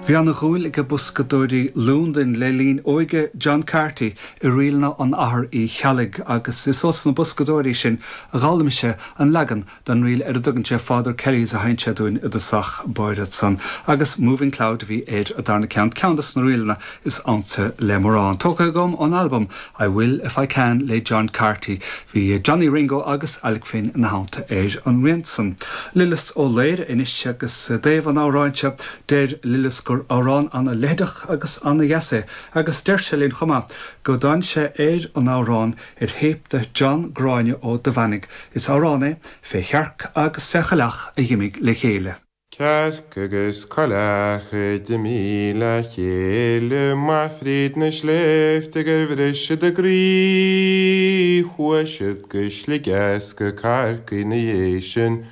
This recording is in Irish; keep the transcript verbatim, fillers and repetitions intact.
Bhí an-dhúil ag boscadóirí Londain le linn óige John Carty i ríleanna an Athar Uí Cheallaigh agus is ós na boscadóirí sin a d'fhoghlaim sé an leagan den ríl ar a dtugann sé Father Kelly's a sheinn sé dúinn i dtosach báire ansan agus Moving Cloud bhí ar a darna ceann ceann des na ríleanna is ansa le mórán. Tógtha agam ón album I Will If I Can le John Carty. Bhí Johnny Ringo agus Alec Finn ina theannta ar an rian san. Lillis Ó Laoire anois agus i dtaobh an amhráin seo deir Lillis gur amhrán an-leitheadach agus an-dheas é agus deir sé linn chomh maith go dtáinig sé ar an amhrán ar théip de John Gráinne Ó Duibheannaigh. Is amhrán é fé chearc agus fé choileach a d'imigh le chéile. Cearc agus coileach a d'imigh le chéile amach fríd na sléibhte gur bhris siad a gcroí chuaigh siad go Sligeach go Corcaigh ina dhiaidh sin.